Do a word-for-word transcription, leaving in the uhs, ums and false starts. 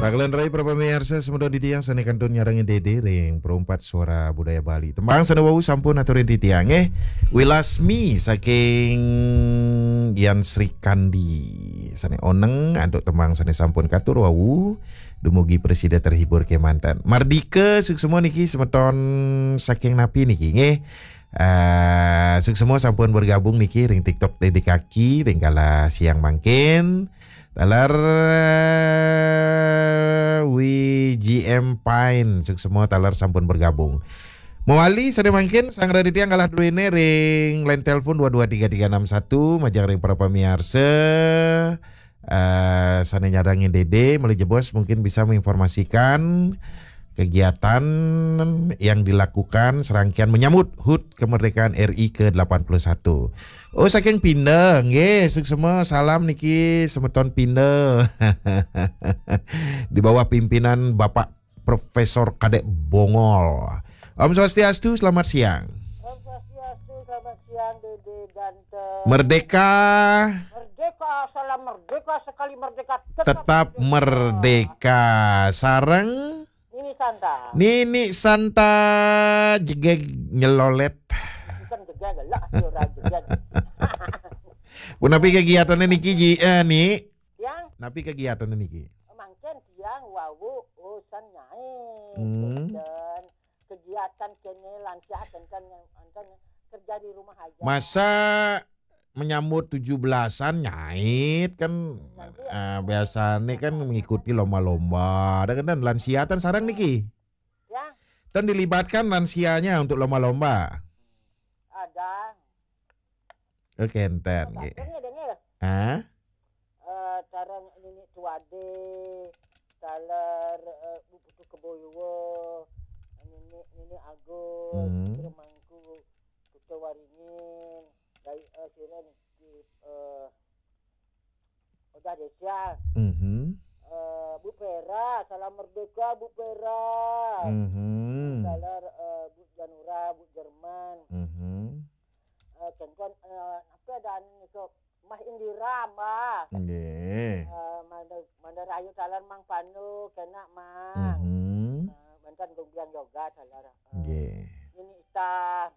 Pagelan rai para pamiarsa semeton titiang sane kantun nyarengin dede ring Perumpat Suara Budaya Bali. Tembang sane wau sampun aturin titiang, eh. Wilasmi saking Yan Srikandi. Sane oneng antuk tembang sane sampun katur wau. Dumugi prasida terhibur kemanten. Mardika suksma niki semeton saking napi niki, nggih. Eh, suksma sampun bergabung niki ring TikTok Dede Kaki ring kala siang mangkin. Taler, eh, W G M Pine, suksma taler sampun bergabung. Mawali sane mangkin, sang Raditya galah druene ring line telepon dua dua tiga tiga enam satu, majeng ring para pamiarsa, eh, sane nyarengin dede, malih jebos mungkin bisa menginformasikan kegiatan yang dilakukan serangkaian menyambut hud kemerdekaan R I ke delapan puluh satu. Oh, saking Pinda, nggih, suksma salam niki semeton Pinda. Di bawah pimpinan Bapak Profesor Kadek Bongol. Om Swastiastu, selamat siang. Om Swastiastu, selamat siang, Dede Dante. Merdeka. Merdeka, salam merdeka, sekali merdeka, tetap Tetap merdeka. Merdeka. Sareng Nini Santa. Nini Santa jegeg nyelolet. Bukan jegeg, lah, ya ora jegeg. Punapi kegiatannya niki, Ji? Eh, Ni? Yang Napi kegiatannya niki? Mangkin tiang wau usan nyai. Hmm. Dan kegiatan kene lancar, kan, kan, kan kerja di rumah aja. Masa menyambut tujuh belasan nyait kan, Nanti eh, biasanya kan mengikuti lomba-lomba. Ada kan, dan lansia tan sareng niki? Ya. Tan dilibatkan lansianya untuk lomba-lomba? Ada. Oke, enten. Ada nggih. Kan ya, Deng, ya? Hah? Eh, cara nini tuade, taler, eh, Bu Putu Keboyo, nini, nini Agus, Hmm. Remangku, Kuta Waringin, dari, eh, sira niki, eh, Odah Desa. Mhm. Eh, Bu Pera, salam merdeka, Bu Pera. Mhm. Taler, eh, Bu Janura, Bu Jerman. Mhm. Eh, kengkon, eh, apa ada anu niko? Mah Indira, Mbah. Nggih. Eh, Manda, Manda Rayu taler Mang Panu, kena, Mang. Mhm. Eh, mantan Gumbiang Yoga taler. Eh, Nggih. Nini Ita.